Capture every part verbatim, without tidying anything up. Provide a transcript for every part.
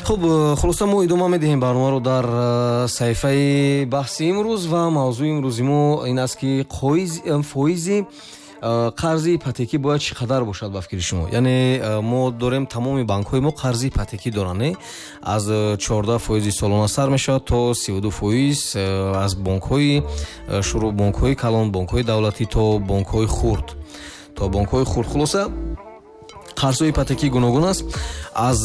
Хуб, хулоса мо идома медиҳем барномаро дар саҳифаи баҳси имрӯз ва мавзӯи имрӯзи мо ин аст, ки фоизи қарзи ипотекӣ бояд чӣ қадар бошад ба фикри шумо. Яъне мо дорем, тамоми банкҳои мо қарзи ипотекӣ доранд, аз чордаҳ фоизи солона сар мешавад то сиву ду фоиз, аз бонкҳои шурӯъ, бонкҳои калон, бонкҳои давлатӣ то бонкҳои хурд, то бонкҳои хурд. Хулоса, қарзҳои ипотекӣ гуногун аст. Аз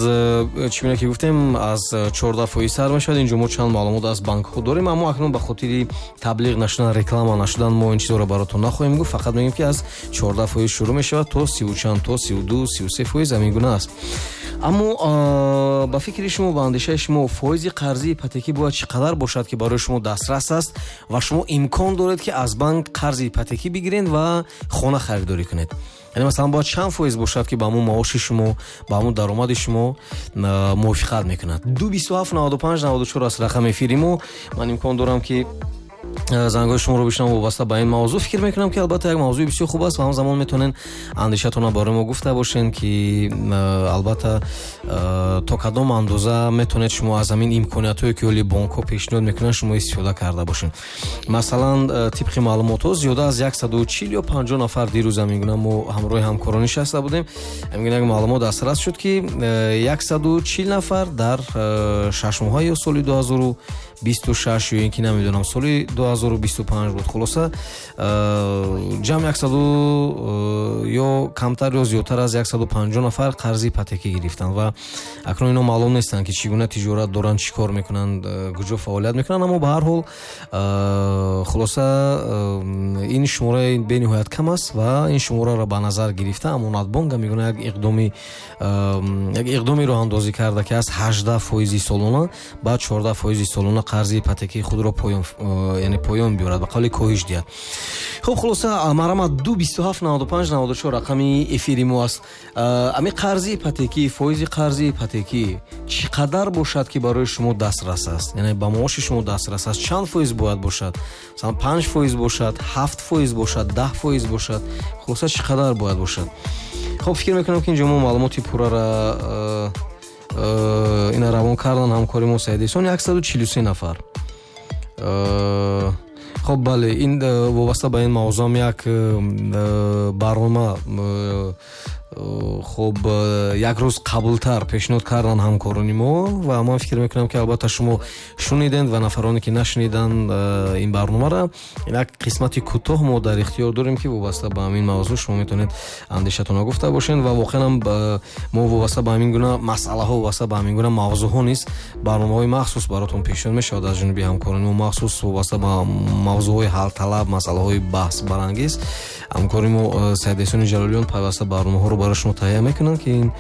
чӣ гуна ки гуфтем, аз чордаҳ фоиз сар мешавад. Инҷо мо чанд маълумот аз банкҳо дорем, аммо акнун ба хотири таблиғ нашудан, реклама нашудан мо ин чизҳоро баротон нахоҳем гуфт. Фақат мегӯем, ки аз чордаҳ фоиз шурӯъ мешавад то сиву чанд, то сиву ду, сиву се фоиз, ҳамин гуна аст. Аммо ба фикри шумо, ба андешаи шумо, фоизи қарзи ипотекӣ бояд чӣ қадар бошад, ки барои шумо дастрас аст ва шумо имкон доред, ки аз банк қарзи ипотекӣ бигиред ва хона харидорӣ кунед? Яъне масалан бояд чанд фоиз бошад, ки ба ҳамун маоши шумо, ба ҳамун даромади шумо мувофиқат мекунад? Ду бисту ҳафт наваду панҷ наваду чор аст рақами эфири мо. Ман имкон дорам, ки зангҳои шуморо бишнавам вобаста ба ин мавзӯъ. Фикр мекунам, ки албатта як мавзӯи бисёр хуб аст ва ҳамзамон метавонед андешатонро барои мо гуфта бошед, ки албатта то кадом андоза метавонед шумо аз ҳамин имкониятҳое, ки ҳоли бонкҳо пешниҳод мекунанд, шумо истифода карда бошед. Масалан, тибқи маълумотҳо, зиёда аз яксаду чил ё панҷоҳ нафар, дирӯз ҳамин гуна мо ҳамроҳи ҳамкорон нишаста будем, ҳамин гуна як маълумот дастрас шуд, ки яксаду чил нафар дар шаш моҳа ё соли ду ҳазору бисту шаш ё ин ки намедонам, соли ду ҳазору бисту панҷ буд. Хулоса, ҷамъ яксаду ё камтар ё зиёдтар аз яксаду панҷоҳ нафар қарзи ипотекӣ гирифтанд ва акнун ино маълум нестанд, ки чӣ гуна тиҷорат доранд, чӣ кор мекунанд, куҷо фаъолият мекунанд, аммо ба ҳар ҳол, хулоса, ин шумораи бениҳоят кам аст ва ин шумораро ба назар гирифта Амонатбонк ҳам мегӯяд, як иқдоми як иқдоми роҳандозӣ карда, ки аз ҳаждаҳ фоизи солона ба чордаҳ фоизи солона қарзи ипотекии худро поён, яъне поён биёрад, ба қавли коҳиш диҳад. Хуб, хулоса, марҳамат, ду бисту ҳафт наваду панҷ наваду чор рақами эфири мо аст. Ами қарзи ипотекӣ, фоизи қарзи ипотекӣ чӣ қадар бошад, ки барои шумо дастрас аст, яъне ба маоши шумо дастрас аст? Чанд фоиз бояд бошад? Масалан, панҷ фоиз бошад, ҳафт фоиз бошад, даҳ фоиз бошад? Хулоса, чӣ қадар бояд бошад? Хуб, фикр мекунам, ки инҷо мо маълумоти пуррара ина равон кардан ҳамкори мо Саид Эҳсон. Яксаду чилу се нафар. Хуб, бале, ин вобаста ба ин мавзӯам як барнома, хуб, як рӯз қаблтар пешниҳод кардан ҳамкорони мо ва ман фикр мекунам, ки албатта шумо шунидед ва нафароне, ки нашуниданд ин барномаро, як қисмати кӯтоҳ мо дар ихтиёр дорем, ки вобаста ба ҳамин мавзӯъ шумо метавонед андешатонро гуфта бошед. Ва воқеан ҳам мо вобаста ба ҳамин гуна масъалаҳо, вобаста ба ҳамин гуна мавзӯъҳо низ барномаҳои махсус баротон пешниҳод мешавад аз ҷониби ҳамкорони мо, махсус вобаста ба мавзӯъҳои ҳалталаб, масъалаҳои баҳсбарангез. Ҳамкори мо Саид Эҳсони Ҷалолиён пайваста барномаҳоро барои шумо таҳия мекунанд, ки ин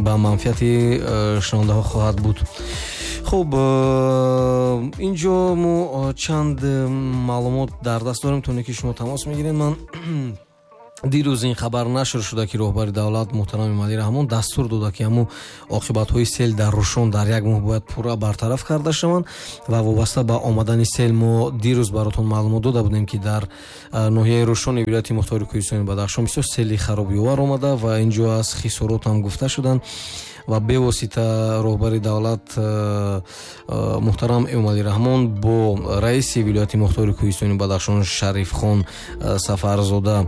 ба манфиати шунавандаҳо хоҳад буд. Хуб, инҷо мо чанд маълумот дар даст дорем, то ки шумо тамос мегиред. Ман дирӯз ин хабар нашр шуда, ки роҳбари давлат муҳтарам Эмомалӣ Раҳмон дастур дода, ки ҳамун оқибатҳои сел дар Рӯшон дар як моҳ бояд пурра бартараф карда шаванд. Ва вобаста ба омадани сел мо дирӯз баротон маълумот дода будем, ки дар ноҳияи Рӯшони вилояти мухтори Кӯҳистони Бадахшон бисёр сели харобиовар омада ва инҷо аз хисорот ҳам гуфта шуданд. Ва бевосита роҳбари давлат муҳтарам Эмомалӣ Раҳмон бо раиси вилояти мухтори Кӯҳистони Бадахшон Шарифхон Сафарзода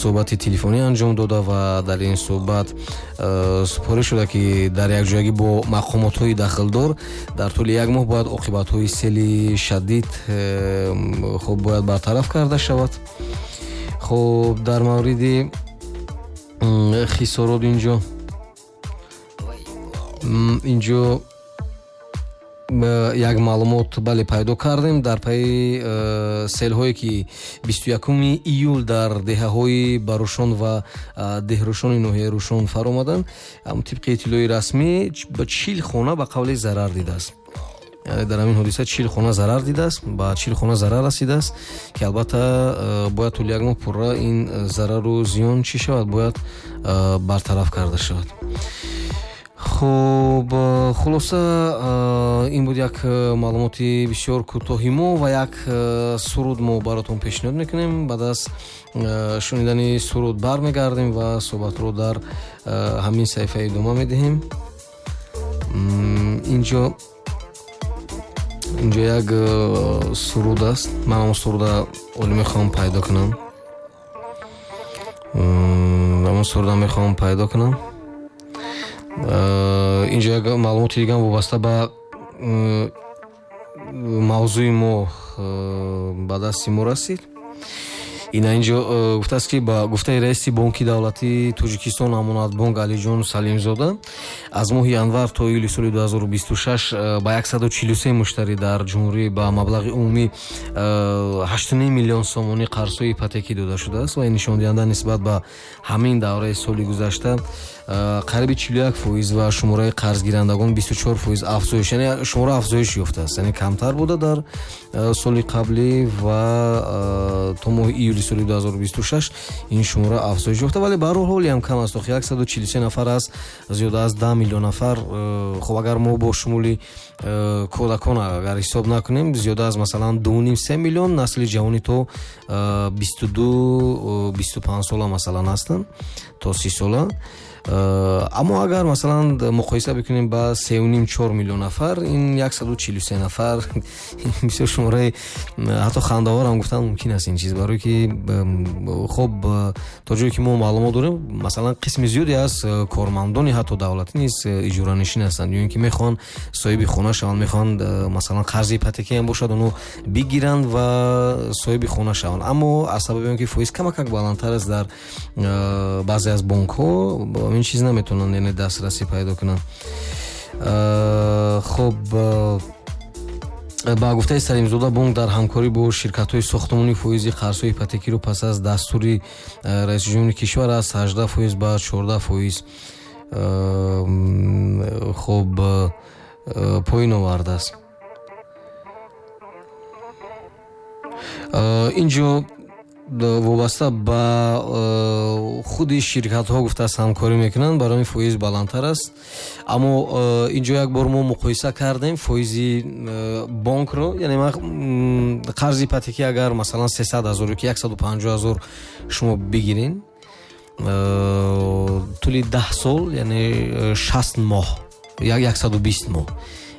суҳбати телефонӣ анҷом дода ва дар ин суҳбат супориш шуда, ки дар якҷоягӣ бо мақомотҳои дахлдор дар тӯли як моҳ бояд оқибатҳои сели шадид, хуб, бояд бартараф карда шавад. Хуб, дар мавриди хисорот инҷо инҷо як маълумот, бале, пайдо кардем. Дар пайи э, селҳое, ки бисту якуми июл дар деҳаҳои Барушон ва Деҳрушони ноҳияи Рӯшон фаромаданд, тибқи иттилои расмӣ, ба чил хона ба қавли зарар дидааст. Яъне дар ҳамин ҳодиса чил хона зарар дидааст, ба чил хона зарар расидааст, ки албатта э, бояд тӯли як моҳ пурра ин зарару зиён чӣ шавад, бояд э, бартараф карда шавад. Хуб, хулоса, ин буд як маълумоти бисёр кӯтоҳи мо ва як суруд мо баротон пешниҳод мекунем. Баъд аз шунидани суруд бармегардем ва суҳбатро дар ҳамин саҳифа идома медиҳем. Инҷо инҷо як суруд аст, ман он суруда олӣ мехоҳам пайдо кунам, он суруда мехоҳам пайдо кунам. Инҷо як маълумоти дигар вобаста ба мавзӯи мо ба дасти мо расид. Ина инҷо гуфтааст, ки ба гуфтаи раиси Бонки давлатии Тоҷикистон Амонатбонк Алиҷон Салимзода, аз моҳи январ то июли соли ду ҳазору бисту шаш ба яксаду чилу се муштарӣ дар ҷумҳурӣ ба маблағи умумӣ ҳашту ним миллион сомонӣ қарзҳои ипотекӣ дода шудааст ва ин нишондиҳанда нисбат ба ҳамин давраи соли гузашта қариби чилу як фоиз ва шумораи қарзгирандагон бисту чор фоиз афзоиш, яъне шумора афзоиш ёфтааст, яъне камтар буда дар соли қаблӣ ва то моҳи июли соли ду ҳазору бисту шаш ин шумора афзоиш ёфта, вале ба ҳар ҳол ҳам кам аст. Охи яксаду чилу се нафар аст, зиёда аз даҳ миллион нафар. Хуб, агар мо бо шумули кӯдакон агар ҳисоб накунем, зиёда аз масалан ду ним се миллион насли ҷавони то бисту ду бисту панҷ сола масалан ҳастанд, то си сола. Аммо агар масалан муқоиса бикунем ба сеу ним чор миллион нафар, ин яксаду чилу се нафар бисёр шумораи ҳатто хандаовар ҳам гуфтан мумкин аст ин чиз, барое ки хоб то ҷое ки мо маълумот дорем, масалан қисми зиёде аз кормандони ҳатто давлатӣ низ иҷоранишин ҳастанд, ё ин ки мехоҳанд соҳиби хона шаванд, мехоҳанд масалан қарзи ипотекӣ ҳам бошад, онҳо бигиранд ва соҳиби хона шаванд. Аммо аз сабаби он ки фоиз камакак баландтар аст дар баъзе аз бонкҳо, ин чиз наметавонанд, яъне дастрасӣ пайдо кунанд. Хоб, ба гуфтаи Салимзода, бонк дар ҳамкорӣ бо ширкатҳои сохтмонӣ фоизи қарзҳои ипотекиро пас аз дастури раиси ҷумҳури кишвар аз ҳаждаҳ фоиз ба чордаҳ фоиз хоб поён овардааст. Инҷо вобаста ба худи ширкатҳо гуфтааст ҳамкорӣ мекунанд, барои ин фоиз баландтар аст. Аммо инҷо як бор мо муқоиса кардем фоизи бонкро, яъне қарзи ипотекӣ агар масалан сесад ҳазор ё ки яксаду панҷоҳ ҳазор шумо бигирин, тӯли даҳ сол, яъне шаст моҳ, яксаду бист моҳ,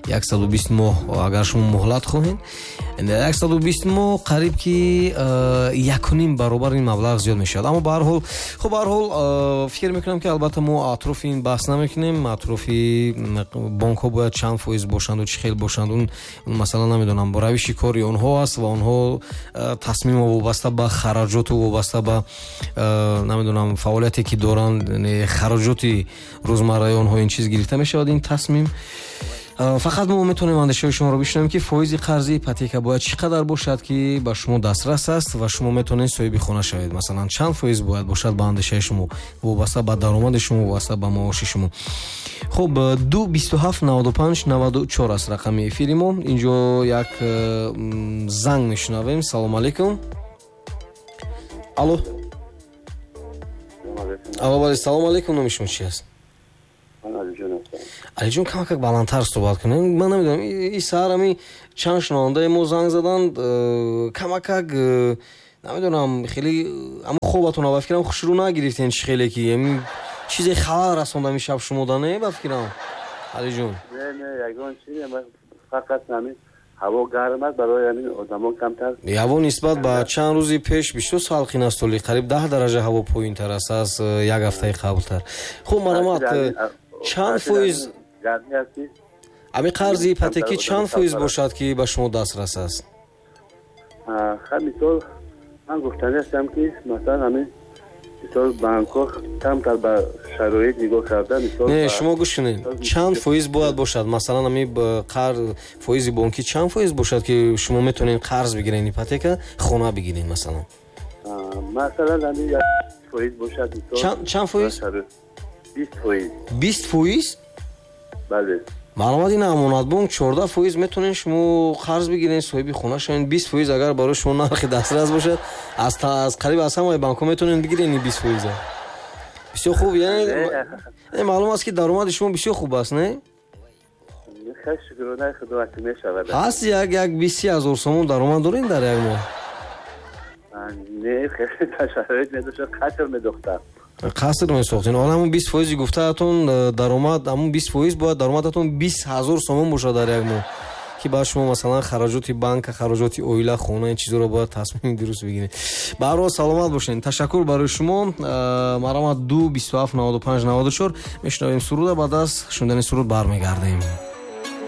яксаду бист моҳ агар шумо муҳлат хоҳед, яксаду бист моҳ қариб ки якуним баробар ин маблағ зиёд мешавад. Аммо ба ҳар ҳол, хуб, ба ҳар ҳол фикр мекунам ки албатта мо атрофи ин баҳс намекунем, атрофи бонкҳо бояд чанд фоиз бошанд ва чӣ хел бошанд, он масалан намедонам, равиши кори онҳо аст ва онҳо тасмимо вобаста ба хараҷоту вобаста ба намедонам фаъолияте ки доранд, хараҷоти рӯзмарраи онҳо ин чиз гирифта мешавад ин тасмим. Фақат мо метавонем андешаҳои шуморо бишнавем ки фоизи қарзи ипотека бояд чӣ қадар бошад ки ба шумо дастрас аст ва шумо метавонед соҳиби хона шавед. Масалан чанд фоиз бояд бошад ба андешаи шумо, вобаста ба даромади шумо, вобаста ба маоши шумо. Хуб, ду бисту ҳафт наваду панҷ наваду чор аст рақами эфири мо. Инҷо як занг мешунавем. Салом алейкум. Алло. Алло, бале, салом алейкум. Номи шумо чи аст? Алиҷон, камакак баландтар суҳбат кунем. Ман намедонам, ин саҳар ҳамин чанд шунавандаи мо занг заданд, камакак намедонам, хеле ҳамн хобатон ба фикрам хушрӯ нагирифтен, чӣ хеле ки ҳамин чизе халал расонда ҳамин шаб шумо да, не ба фикрам Алиҷон? Не, не, ягон чизе, фақат ҳамин ҳаво гарм аст, барои ҳамин одамон камтар. Ҳаво нисбат ба чанд рӯзи пеш бисёр салқин аст, толи қариб даҳ дараҷа ҳаво поёнтар аст аз як ҳафтаи қаблтар. Хуб, марҳамат, чанд фоиз ами қарзи ипотекӣ чанд фоиз бошад ки ба шумо дастрас аст? Ха, мисол ман гуфтанӣ ҳастам ки масалан ҳамин мисол банкҳо камтар ба шароит нигоҳ карда, мисол не, шумо гӯш кунед, чанд фоиз бояд бошад? Масалан ҳамин қарз фоизи бонкӣ чанд фоиз бошад ки шумо метавонед қарз бигиред, ипотека хона бигиред масалан? Масалан ҳамин як фоиз бошад, мисол чанд фоиз? бист фоиз. бист фоиз? Бале. Маълумот ин Амонатбонк чордаҳ фоиз метавонед шумо қарз бигиред, соҳиби хона шавед. бист фоиз агар барои шумо нархи дастрас бошад, аз аз қариб аз ҳамаи банкҳо метавонед бигиред ин бист фоиза. Бисёр хуб, яъне маълум аст ки даромади шумо бисёр хуб аст, не? Шукронаи Худо ки мешавад. Ҳаст як як бист си ҳазор сомон даромад доред дар як моҳ? Не, шароит медошт, қатр медохтам. Қаср месохтен. Ҳоло ҳамун бист фоизи гуфтаатон даромад, ҳамун бист фоиз бояд даромадатон бист ҳазор сомон бошад дар як моҳ, ки баъд шумо масалан хароҷоти банка, хароҷоти оила, хона, ин чизоро бояд тасмими дуруст бигиред. Ба ҳар ҳол саломат бошед. Ташаккур барои шумо. Марҳамат, ду бисту ҳафт наваду панҷ наваду чор. Мешунавем суруда, баъд аз шунидани суруд бармегардем.